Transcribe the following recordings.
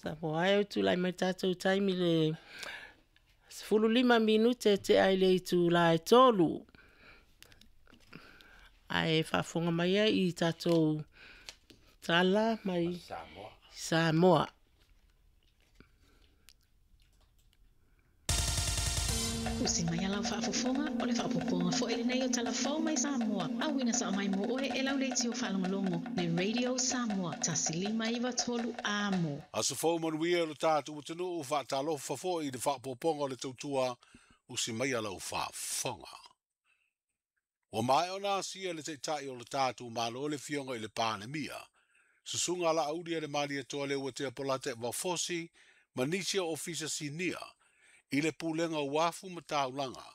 Samoa e tulai mai tatou taimi le 15 minute tea i le itula e 3. Ae faafofoga mai ai i tatou tala mai Samoa. Usi mai a lau faafofoga, o le faaopoopoga foi lenei o Tala Fou mai Samoa, auina sao mai mo oe e lau leitio faalogologo, le Radio Samoa, 1593 Amo. Aso fou manuia lo tatou atunuu, faatalofa foi i le faaopoopoga o le tautua, usi mai a lau faafofoga. Ua maea ona asia le Taitai o le tatou Malo le Afioga i le Palemia, Susuga Laauli a le Malietoa Leuatea Polata Vafosi ma nisi o Ofisa Sinia i le Pulega o Uafu ma Taulaga,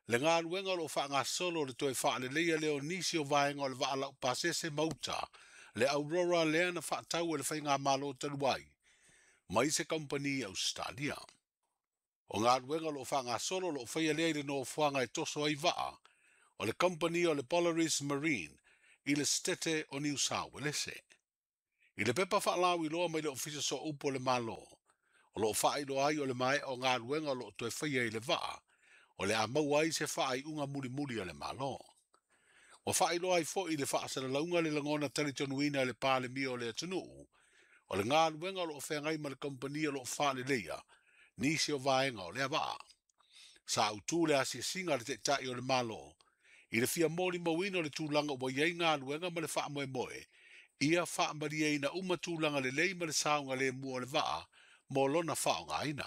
le galuega o lo o faagasolo le toe faaleleia lea o nisi o vaega o le vaa laupasese ma uta, le Aurora lea na faatau e le faigamalo talu ai mai se kamupani i Ausetalia. O galuega o lo o faagasolo o lo o faia lea i le nofoaga e toso ai vaa o le kamupani o le Polaris Marine i le Setete o Niu Sauelese. I le pepa faalauiloa mai le Ofisa Sooupu o le Malo, o lo o faailoa ai o le maea o galuega o lo o toe faia i le vaa, o le a maua ai se faaiuga mulimuli a le Malo. Ua faailoa ai foi i le faasalalauga le lagona talitonuina e le Palemia o le atunuu, o le galuega o lo o feagai ma le kamupani o lo o faaleleia nisi o vaega o lea vaa. Sa autu le asiasiga a le Taitai o le Malo i le fia molimauina o le tulaga ua i ai galuega ma le faamoemoe, ia faamalieina uma tulaga lelei ma le saogalemu o le vaa mo lona faaaogaina.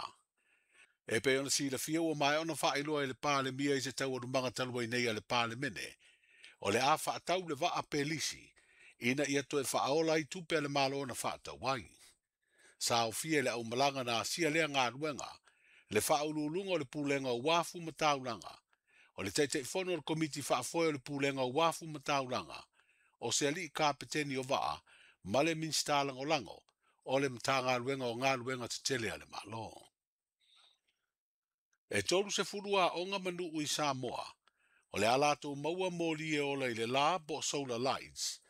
E pei ona silafia ua maea ona faailoa e le Palemia i se taualumaga talu ai nei a le Palemene, o le a faatau le vaa pelisi ina ia toe faaola ai tupe a le Malo na faatau ai. Sa aofia i le aumalaga na asia lea galuega, le faauluuluga o le Pulega o Uafu ma Taulaga, o le Taitaifono o le Komiti Faafoe o le Pulega o Uafu ma Taulaga, o se alii kapeteni o vaa, ma le Minisita Lagolago o le Matagaluega o Galuega Tetele a le Malo. E 30 aoga ma nuu i Samoa, o le a latou maua moli e ola i le la po o solar lights,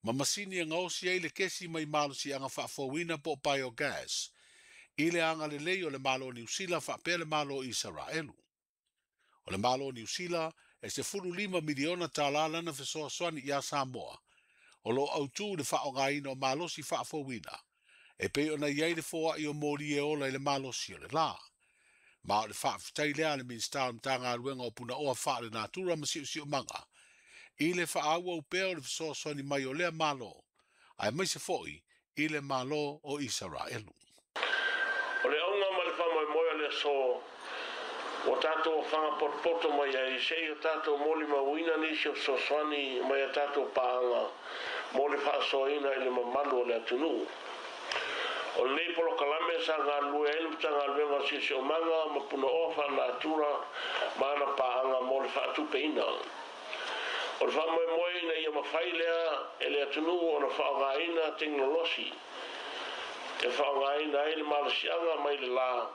ma masini e gaosi ai le kesi mai malosiaga faafouina po o biogas, i le agalelei o le Malo o Niu Sila faapea le Malo o Isaraelu. O le Malo o Niu Sila e $15 miliona tala lana fesoasoani iā Samoa, o lo o autu le faaaogaina o malosi faafouina, e pei ona i ai le foai o moli e ola i le malosi o le la. Ma o le faafetai lea a le Minisita o le Matagaluega o Punaoa Faalenatura ma Siosiomaga i le faaauau pea o le fesoasoani mai o lea Malo, aemaise foi i le Malo o Isaraelu. O le auga ma le faamoemoe o le aso ua tatou ofaga potopoto mai ai, se i o tatou molimauina nisi o fesoasoani mai a tatou paaga mo le faasoaina i le mamalu o le atunuu. O lenei polokalame sa galulue ai le Matagaluega o Siosiomaga ma Punaoa Faalenatura ma ana paaga mo le faatupeina. O le faamoemoe ina ia mafai lea e le atunuu ona faaaogaina tekonolosi e faaaogaina ai le malosiaga mai le la,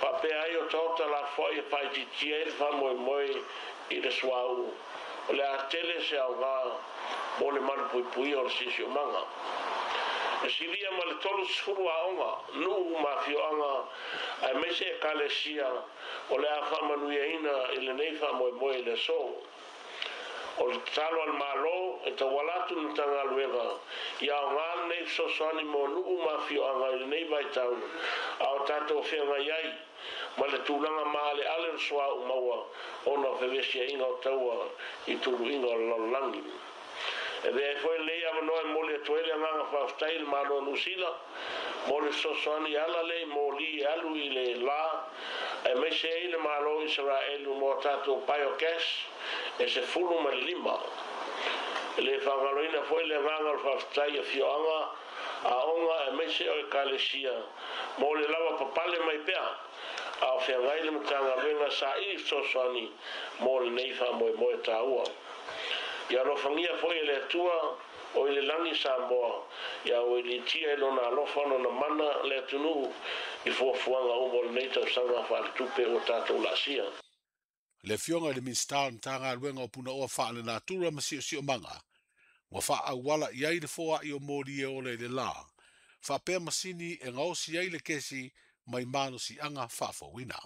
faapea ai o taota lafoai e faaitiitia ai le faamoemoe i le suauu, o le a tele se aoga mo le malupuipuia o le siosiomaga. E silia ma le 30 aoga, nuu ma afioaga aemaise ekalesia o le a faamanuiaina i lenei faamoemoe i le aso. O le tatalo a le Malo e tauala atu i le Matagaluega ia aoga lenei fesoasoani mo nuu ma afioaga i lenei vaitau a o tatou feagai ai ma le tulaga maaleale o le suauu maua ona o fevesiaiga o taua i tuluiga o le lalolagi. E avea ai foi lenei avanoa e momoli atu ai le agaga faafetai i le Malo o Niu Sila mo le fesoasoani e ala lea i moli e alu i le la, aemaise ai le Malo o Isaraelu mo a tatou biogas e 15. E le faagaloina foi le agaga o le faafetai i afioaga, aoga aemaise o ekalesia mo le lava papale mai pea a o feagai le Matagaluega saili fesoasoani mo lenei faamoemoe taua. Ia alofagia foi e le Atua o i le lagi Samoa, ia auiliitia i lona alofa lona mana le atunuu i fuafuaga uma o lenei tausaga faaletupe ua tatou laasia. Le Afioga i le Minisita o le Matagaluega o Punaoa Faalenatura ma Siosiomaga, ua faaauala i ai le foai o moli e ola i le la, Faapea masini e gaosi ai le kesi mai malosiaga faafouina.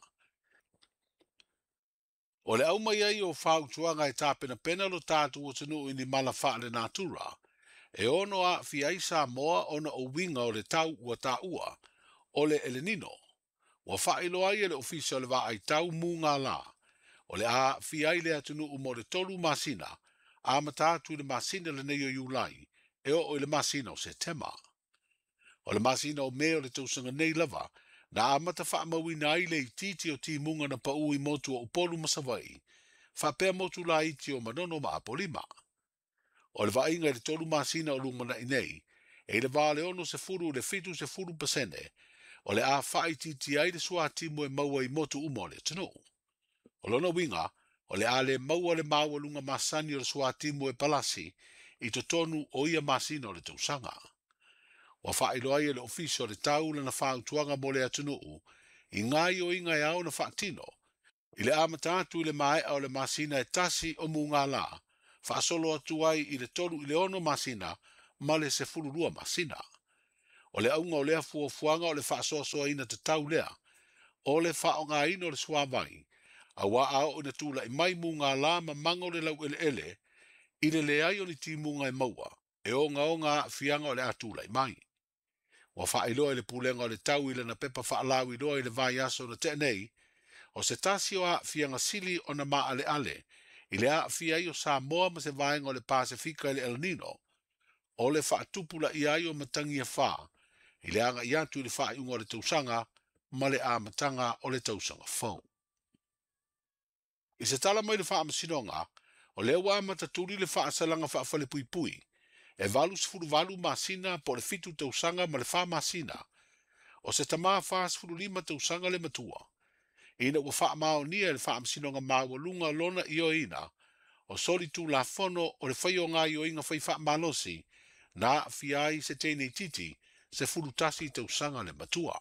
O le aumai ai o fautuaga e tapenapena lo tatou atunuu i ni mala faalenatura, e ono aafia ai Samoa ona o uiga o le tau ua taua, o le El Nino. Ua faailoa ai e le Ofisa o le Vaaitau Mugala, o le a aafia ai le atunuu mo le 3 masina, amata atu i le masina lenei o Iulai, e oo i le masina o Setema. O le masina o Me o le tausaga nei lava, na amata faamauina ai le itiiti o timuga na pau i motu o Upolu ma Savaii, faapea motu laiti o Manono ma Apolima. O le vaaiga i le 3 masina o lumanai nei, e i le va o le 60 i le 70%, o le a faaitiiti ai le suatimu e maua i motu uma o le atunuu. O lona uiga, o le a le maua le maualuga masani o le suatimu e palasi i totonu o ia masina o le tausaga. Ua faailoa ai e le Ofisa o le Tau lana fautuaga mo le atunuu i gaoioiga e ao ona faatino, i le amata atu i le maea o le masina e 1 o Mugala, faasolo atu ai i le 3 i le 6 masina ma le 12 masina. O le auga o lea fuafuaga o le faasoasoaina tatau lea, o le faaaogaina o le suavai, auā a oo ina tulai mai mugala ma mago le laueleele, i le leai o ni timuga e maua, e ogaoga aafiaga o le a tulai mai. Ua faailoa i le pulega o le tau i lana pepa faalauiloa i le vaiaso na tea nei, o se tasi o aafiaga sili ona maaleale i le aafia ai o Samoa ma se vaega o le Pasefika i le El Nino, o le faatupulaia ai o matagi e 4 i le agai atu i le faaiuga o le tausaga ma le amataga o le tausaga fou. I se tala mai le faamasinoga, o lea ua amata tuli le faasalaga faafalepuipui, e 88 masina po o le 7 tausaga ma le 4 masina, o se tamā 45 tausaga le matua, ina ua faamaonia e le faamasinoga maualuga lona ioeina, o soli tulafono o le faia o gaoioiga fai faamalosi, na aafia ai se teine itiiti 11 tausaga le matua.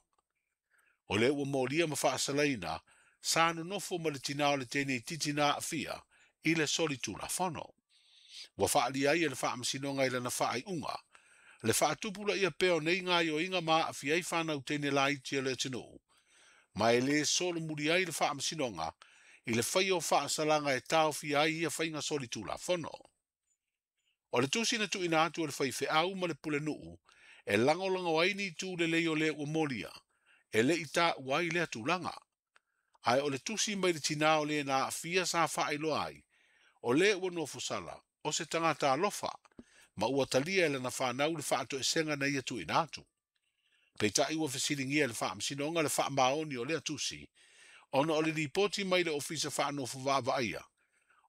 O lea ua molia ma faasalaina, sa nonofo ma le tinā o le teine itiiti na aafia i le soli tulafono. Ua faalia ai e le faamasinoga i lana faaiuga, le faatupulaia pea o nei gaoioiga ma aafia ai fanau teine laiti o le atunuu, ma e lē solomuli ai le faamasinoga i le faia o faasalaga e taofia ai ia faiga soli tulafono. O le tusi na tuuina atu o le faifeau ma le pulenuu, e lagolago ai ni itu lelei o lea ua molia, e le i taua ai lea tulaga. Ae o le tusi mai le tinā o le na aafia sa faailoa ai, o lea ua nofosala, o se tagata alofa, ma ua talia e lana fanau le faatoesega na ia tuuina atu. Peitai ua fesiligia e le faamasinoga le faamaoni o lea tusi, ona o le lipoti mai le ofisa faanofo vaavaaia,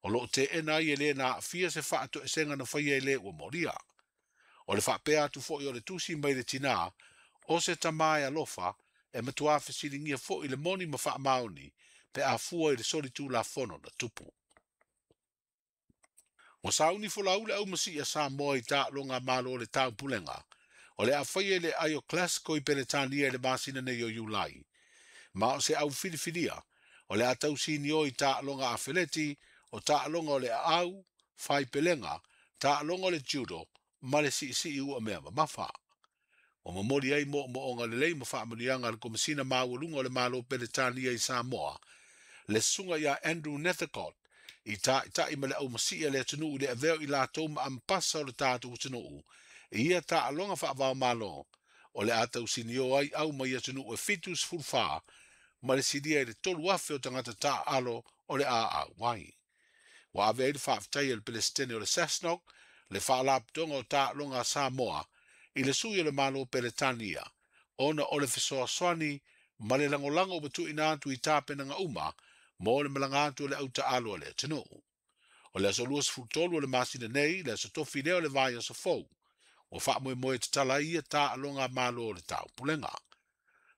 o loo teena ai e le na aafia se faatoesega na faia e le ua molia. O le faapea atu foi o le tusi mai le tinā, o se tamā e alofa, e matuā fesiligia foi le moni ma faamaoni, pe afua i le soli tulafono na tupu. Ua sauni folau le aumasi'i a Samoa i taaloga malo o le taupulega, o le a faia i le aai o Glasgow i Peretania i le masina nei o Iulai. Ma o se au filifilia, o le a tausinio i taaloga afeleti, o taaloga o le aau, faipelega, taaloga o le judo, ma le siisii ua mea mamafa. Ua momoli ai moomooga lelei ma faamanuiaga a le Komesina Maualuga o le Malo Peretania i Samoa, le susuga ia Andrew Nethercott, i taitai ma le aumasi'i a le atunuu i le avea o i latou ma ampasa o le tatou atunuu, i ia taaloga faavaomalo, o le a tausinio ai au mai atunuu e 74, ma le silia i le 3,000 o tagata taaalo o le a auai. Ua ave ai le faafetai a le Pelesitene o le SASNOC, le faalapotopotoga o taaloga a Samoa, i le sui o le Malo Peretania, ona o le fesoasoani ma le lagolago ua tuuina atu i tapenaga uma mo le malaga atu o le autaalo a le atunuu. O le aso 23 o le masina nei, le aso tofi lea o le vaiaso fou, ua faamoemoe tatala ai ia taaloga malo o le taupulega.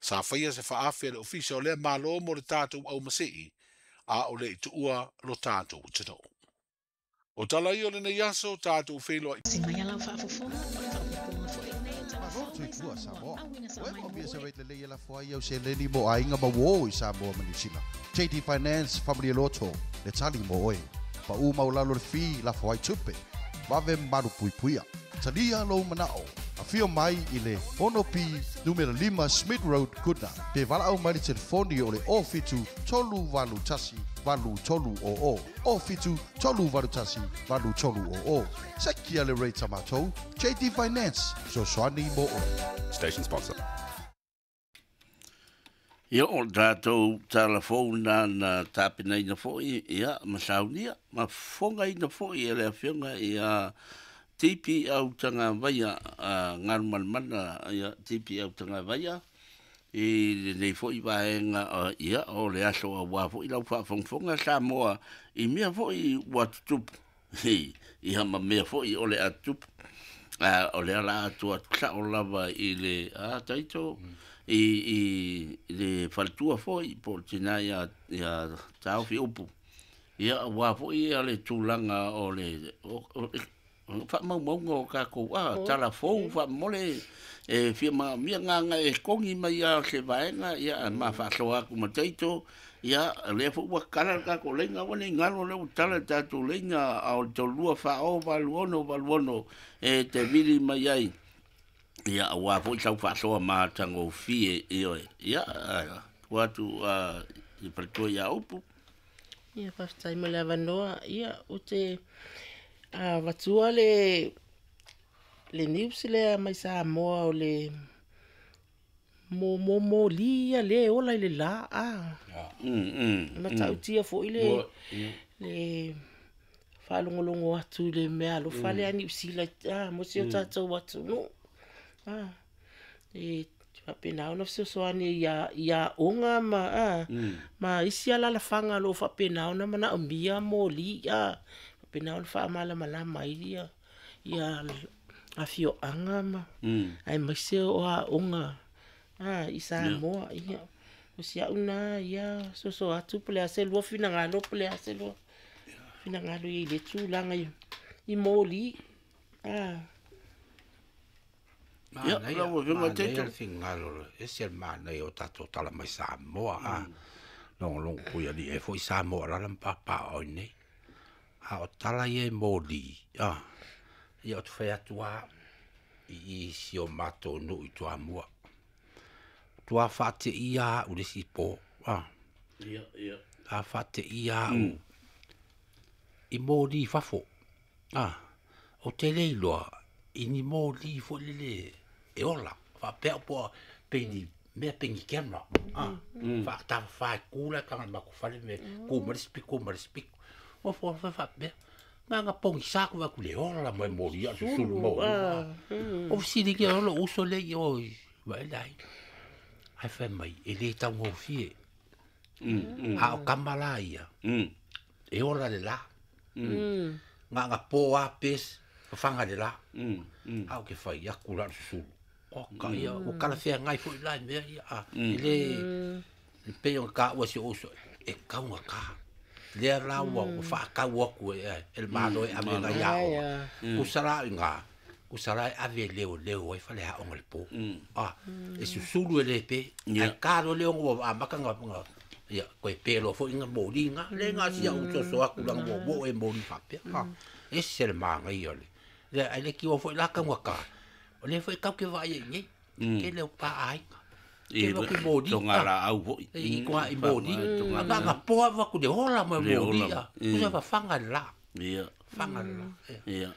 Sa faia se faafe a le ofisa o lea malo mo le tatou aumasii, a o le i tuua lo tatou atunuu. O tala ia o lenei aso, tatou feiloai. Si mai lau faafofoga o le faaopoopoga foi lenei o Tala Malo Fou mai tuitua Samoa. Samoa. Auina Ua sao e mai mo mo pia se oe. rate lelei e lafo ai au seleni mo aiga ma uō i Samoa ma Niu Sila. JD Finance, Family Loto, le tali mo oe. Pa u maulalo le fee lafo ai tupe. Vave malu puipuia. Talia lou manao. Afio mai i le 6P numera 5 Smith Road, Goodna. Pe valaau mai le telefoni o le 07 381 8300. 07 381 8300. Sekia le rate a matou, JD Finance, fesoasoani mo oe. Station sponsor. Ia, o le tatou tala fou lena na tapenaina foi, ia, ma saunia, ma fofogaina foi e le Afioga ia TP Autagavaia, Galumalemana ia TP Autagavaia, i lenei foi vaega, ia, o le aso aua foi lau faafogafoga Samoa i mea foi ua tutupu, ia, ma mea foi o le a tutupu. O lea la atu atu sao lava i le a taito i le faletua foi po o le tina ia Taofi Upu. Ia, aua foi ia le tulaga o le faamaumauga o tatou tala fou faamomole e fia manaomia gaga e togi mai lava o se vaega, ia, ma faasoa atu ma taito. Ia, lea foi ua tala le tatou laina, aua ne i galo lea ua tala le tatou laina, a o le 32 40 86 86 e te vili mai ai. Ia, aua foi sau faasoa matagofie, ioe. Ia, tuu atu i faletua ia Upu. Ia, faafetai mo le avanoa. Ia, ou te avatua le news lea mai Samoa o le mo moli ia le ola i le la. Matautia foi le faalogologo atu i le mea alofa lea Niu Sila mo si o tatou atunuu. E faapena ona fesoasoani i aoga ma ma isi alalafaga o lo o faapena ona manaomia moli, faapena ona faamalamalama ai ia afioaga ma aemaise o aoga i Samoa. Ia, o si au na ia soso atu po o le a se lua finagalo, po o le a se lua finagalo i le tulaga i moli. Ia, lau Afioga Taito. Le finagalo, ese le manaia o tatou tala mai Samoa. Logologo pui alii ai foi Samoa lala ma papaaao i nei. A o tala ia e moli, ia ou te fai atu lava i si o matou nuu i Toamua. Tua faateia au le isi po. Ia, ia. A faateia au i moli fafo. O te le iloa i ni moli foi lele e ola. Faapea po pe ni mea pe ni camera. Faatafafa e ku la tanga ma ku fale me ku ma le spiko ma le spiko. O fo fa faapea. Nga pogisa ku va ku le ola mo moli a susulu mo. O sili ke o lo uso le i o va lai. Ai fai mai e le taugofie. A o kama la ia. E ola le la. Nga po a pes whanga le la. A o ke whai aku la susulu. O ka ia, o kala whia ngai fo i lai mea ia. E le le pe o ka ua si oso e kaunga ka. Lea la ua o whaakau aku e e le malo e ave ngai a o. Kusara i ngā. Kusara e ave leo leo ai whale ha onga le po. E susulu e le pe. Ai karo leo ngā a maka ngā ngā. Ia, koe pēlo fo inga mōri ngā. Le ngā sia u soso aku langa mō mō e mōri whapea. E se le maanga i ole. Le ai le kiwa fo i laka ngā ka. O le fo i kau ke vai e nei. Ke leo pa ainga. Ke leo ki mōri. Tonga la au foi. I koa i mōri. Nga nga poa waku le hola mo mōri. Kusa wa whanga la. Ia. Whanga la. Ia.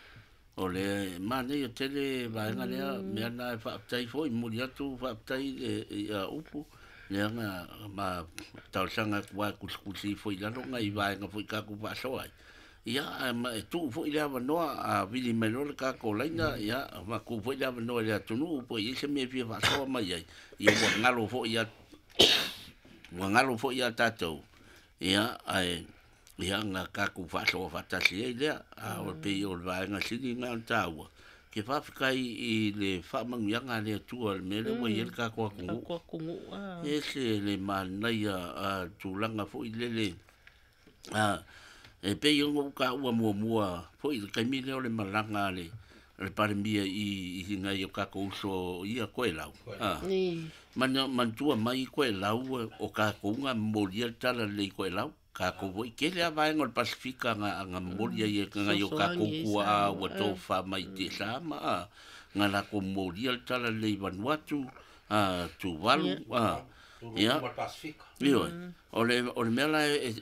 O le manaia tele vaega lea mea na e faafetai foi momoli atu faafetai ia Upu leaga ma talosaga atu ai kusikusi foi i lalo nai vaega foi tatou faasoa ai. Ia, ma e tuu foi le avanoa a vili mai loa le tatou laina, ia, ma tuu foi le avanoa i le atunuu po o i ai se mea e fia faasoa mai ai. Ia ua galo foi ia ua galo foi ia tatou, ia, ae ia na tatou faasoa faatasi ai lea, a o le pei o le vaega sili lena o le taua, ke faafetai i le faamanuiaga a le Atua i le mea lea ua i ai le tatou atunuu. E ese le manaia tulaga foi lele e pei ona ou taua muamua foi i le taimi lea o le malaga a le Palemia i nai o tatou uso ia Koelau. Manatua mai Koelau o tatou na momolia le tala lelei i Koelau. Tatou foi tele lava vaega o le Pasifika na momolia ai e nai o tatou tuaa ua tofafa mai i Tiasa ma nga lākou molia le tala lelei i Vanuatu, a Tuvalu, a ia ioe. O le mea la e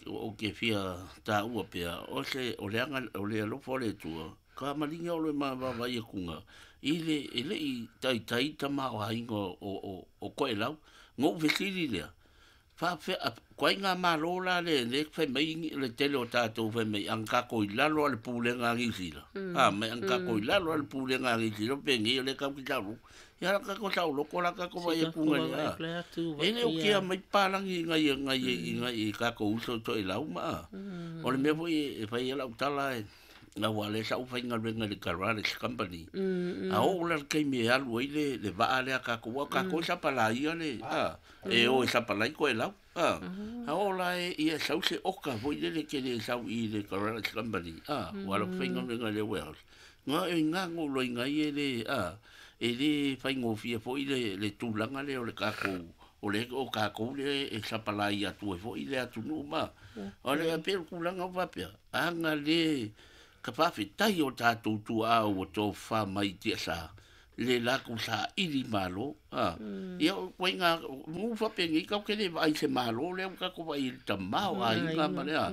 ou te fia taua pea, o se o le aga o le alofa o le Atua, ka maliga o le mavaavaai atuga i le e le'i taitai tamaoaiga o Toelau. Na ou fesili lea, faafefea toaiga malo la le le fai mai le tele o tatou fai mai aga tatou i lalo o le pulega a Niu Sila. A mai aga tatou i lalo o le pulega a Niu Sila penei o le tatou te saoloto. Ia la tatou saoloto la tatou vaai atuga i le E le o kea mai papalagi nai nai nai tatou uso i Toelau ma a. O le mea foi e fai ai lau tala e aua o lea sa ou faigaluega i le Garage Company. A oo la i le taimi e alu ai le vaa lea a tatou, aua o tatou e sapalaia le, a, e o e sapalai Toelau, a. A oo la ia sau se oka foi lele e te le sau i le Garage Company, a, ua alu faigaluega i le warehouse. Na o i ina na ou iloaina ai e le, a, e le faigofie foi le tulaga lea o le tatou, o le o tatou lea e sapalaia atu ai foi le atunuu ma. O le pei o le tulaga ua faapea, aga le ka faafetai o tatou tuaa ua tofafa mai i tiasa, le latou saili malo. A, ia o ituaiga nuu faapenei tatou te le vaai i se malo lea ua tatou vaai i le tamaoaiga ma le a.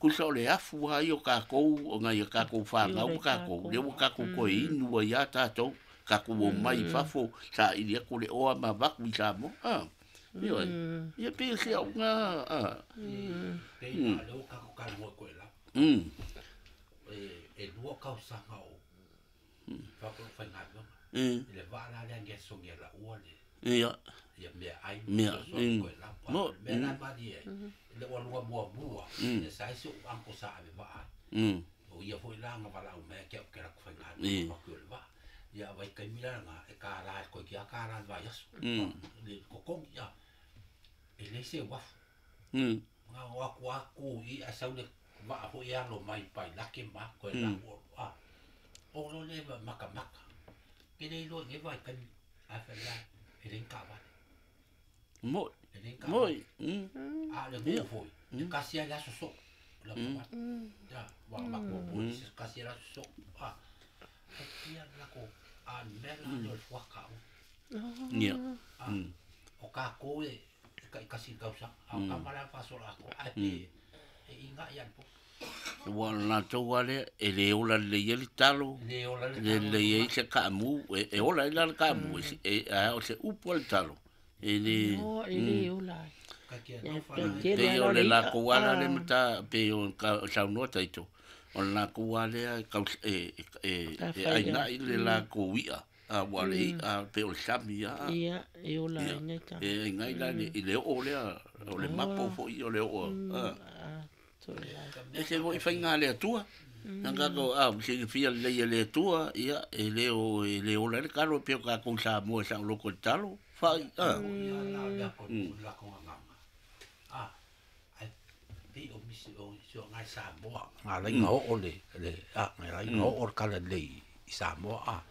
Tusa o le afu lava ia o tatou, o nai a tatou fanau ma tatou, lea ua tatou toe inu ai lava tatou, tatou omai i fafo, saili atu le oa ma avatu i Samoa. A, ioe. Ia pei o si au lena, a. Pei la o lea ua tatou talanoa i Toelau. E lua tausaga o faapo faigaluega. I le vaa la lea ngia sogi e laua le Ia. Ia mea ai Mea, fesoasoani Toelau. Mo, Mea la malie ai, le ua lua muamua, e sa ai si ou uncle sa ave vaa ai. O ia foi la na valaau mai ia te au ke alu atu faigaluega ma o le vaa. Ia vaitaimi la lena e $1 e toeitiiti lava $1 i le vaiaso. Le totogi, ia. E leai se uafu. Na o atu lava tu i i ae sau le vaa foi e alo mai Pailake ma Toelau. A o loa lea matamata. Ke le iloa i nei vaitaimi ae fai mai e leai ni taavale. Moi. E leai ni taavale. Moi. A o le nuu foi, e tasi lava le aso soo. O le aso Ia, ua matou o i se tasi lava le aso soo. A, e pia le latou, a o le mea la lea o le fuata au. Ia. A, o tatou e taitasi i le tausaga, a o tama la e faasola atoa, ae pe e inai lava i le po. Ua o le latou lava lea, e le ola lelei ai le talo, E le ola le le talo. lelei ai se kaamu, e ola ai la le kaamu, e a o se upu a le talo. E le No, e le ola ai. Ka kia Ia, nofa pe la e. tele Pei ala o o le le i'a. latou ala le mata, pei o ka saunoa taito, o le latou lava lea e kau e e Ka e fai ainai le latou i'a, a ua le i'a pei o le sami lava. Ia, e ola Ia, ai nei tama. e ainai la i le oo lea, o le mapo foi o le oo. A. A, Toelau. E se foi faiga a le Atua. Na tatou a silafia lelei e le Atua, ia e le o e le ola ai le talo pei o tatou Samoa e saoloto i le talo. Fai, a. Ia la o lea ko la ko nganga. A, ai pei o misi o si o ngai Samoa. Ngā lai ngā o le le a ngai lai ngā o le kala le i Samoa a.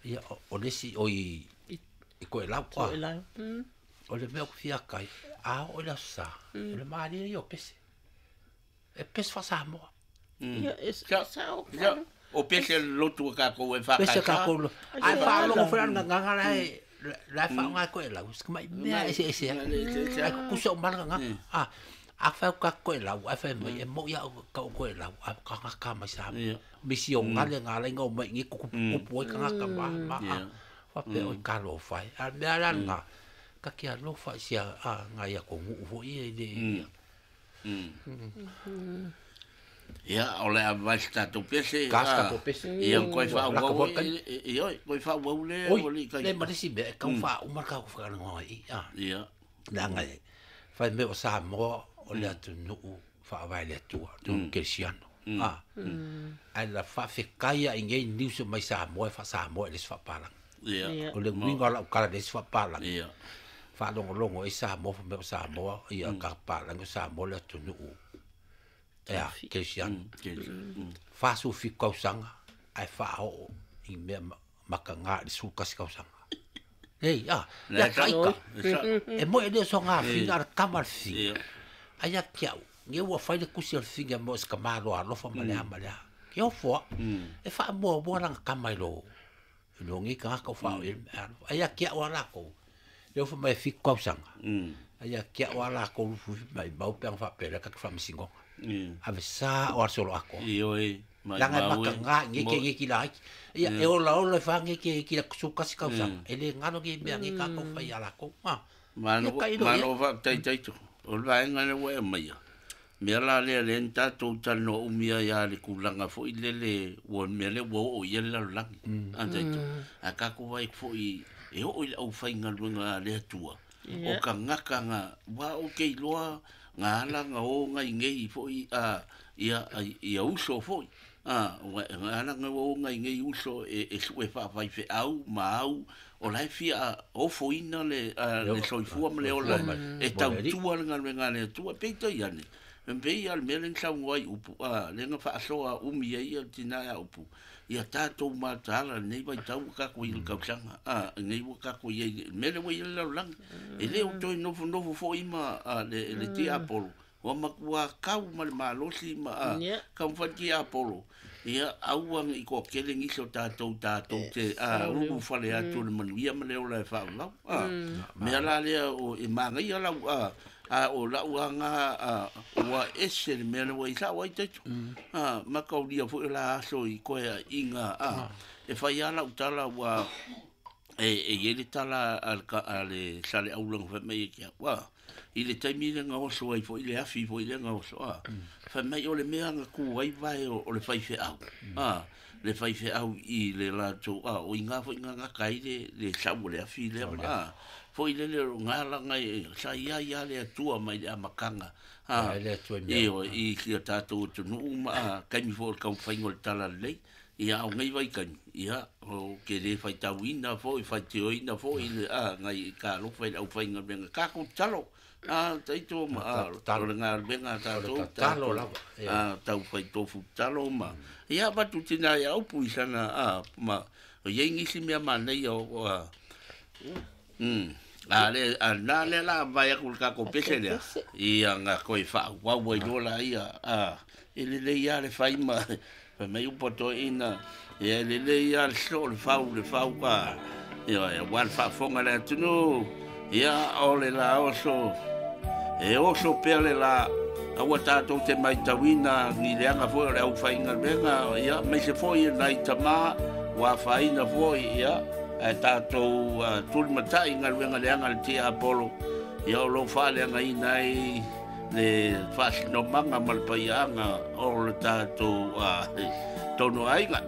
Ia o le si o i i Toelau a. Toelau. O le mea o ku fia kai, a o le aso sa, o le malie ia o pese. E pese fa Samoa. Ia, e Sa- sa o Ia, o pese le lotu a tatou e Pese whakaisa. ka ko. Ai fa longo fela nga nga la e la fa nga ko e lau. Ska mai mea ese ese. Ai ku kusa o mala nga. A a fa ka ko e lau, a fa mai e mo ia ka ko e lau, a ka nga ka mai sa. Ia. Misi o ngale nga lai nga o mai ngi ku ku ku ka nga ka ma ma. Ia. Fa pe o ka lo fa. A mea la nga ka kia lo fa sia a nga ia ko ngu fo i le. Ia, o le a vai se tatou pese. Ka se a, tatou pese. Ia, koe Ua, wha laka uau, foi kai. ia, koe wha uau le, Oi, o le kai. le ma le si mea, e kau wha umar ka ku whakarongo ai. A. Ia. Leaga e fai mea o Samoa o le atunuu faavae le Atua, atunuu kerisiano. A. Ae la faafekai ai nei niusa mai Samoa e faasamoa i le isi faapalaga. Ia. Ia. O le uiga o lau kala i le isi faapalaga. Ia. Faalogologo ai Samoa fai mea o Samoa, ia ka palagi o Samoa le atunuu ea kerisiano. 47 tausaga ae faaoo i mea makaga i le 11 tausaga. Ei, a, le taika. E mo e le so ngā whina, a kama le whina. Ia. Ai a ki au, nge ua whai le kusi o le whina mo se ka malo alofa ma lea ma lea. Ke o fua, e wha mua mua langa kama i lo, No ngi ka ka fa e ai a kia o la ko. Le fo mai fi kausaga. Ai a kia o la ko fu mai mau pe fa pe la ka fa misingo. Ave sa o solo ako. Io e mai Langa mau maka e. nga nge ke nge ki la ai. Ia e ola ola fa nge ke ki la su kasi kausaga. Ele ngano ki mea nge ka ko fa ia la ko. Ma. Malo Ia ka ilo ia. malo fa tai tai to. O le vaega le ua e maia. Mea la lea le ni tātou talanoa umia ia le kulaga fo'i lele ua mea lea ua oo i ai le lalolagi. A taito. A kākou vai fo'i e oo i le aufaigaluega a le Atua. O ka gakaga ua o ke iloa ga ala ga o gai nei fo'i a ia ia uso fo'i. A ua ga ala ga o gai nei uso e e su'e fa'afaife'au ma au o lae fia ofoina le le soifua ma le ola e tautua le galuega a le Atua peitai ane pei a le mea lea na saunoa ai upu a lea na faasoa umi ai ia le tinā ia upu ia tatou mataala lenei vaitau ua tatou i le tausaga a lenei ua tatou i ai le mea lea ua i ai le lalolagi e lē o toe nofonofo fo'i ma le le tiapolo ua matuā kau ma le malosi ma a taumafai le tiapolo ia aua ne'i toatele nisi o tatou tatou te a ulufale atu i le manuia ma le ola e faavavau a mea la lea o e magaia lau a a o lau aga a ua ese le mea lea ua i sa'o ai taito a mataulia foi o la aso i koe aiga a e fai lava lau tala ua e e i ai le tala a le a le Saleaula na fai mai ai ke au a i le taimi lea na oso ai foi le afi foi lea na oso a fai mai o le mea na tu ai vae o le faifeau a le faifeau i le latou a o iga foi na gata ai le le sau o le afi lea ma a foi lele o galaga e sa ia ia le Atua mai le amataga a Ia le Atua i mea. ioe i si o tatou atunuu ma a taimi foi o le taumafaiga o le tala lelei ia a o nei vaitaimi ia o ke lē faitauina foi faitioina foi le a nai talofa i le aufaigaluega tatou tatalo a taito ma a o le galuega a tatou tatalo lava, a taufai tofu tatalo ma ia avatu tinā ia upu i sana a ma o iai nisi mea manaia o a A le a na le la vai aku le tatou pese lea. Ia nga koe fa'auau ai loa laia a e lelei lava le fai ma fai mai upu a toeaina ia e lelei lava le soo le fau le fau ka ioe auā le faafofoga a le atunuu ia o le la oso e oso pea le la aua tatou te maitauina ni leaga foi o le aufaigaluega ia aemaise foi e nai tamā ua afaina foi ia ae tatou tulimata'i i galuega leaga a le tiapolo ia o lou faaleagaina ai le faasinomaga ma le paiaaga o le tatou tonu aiga.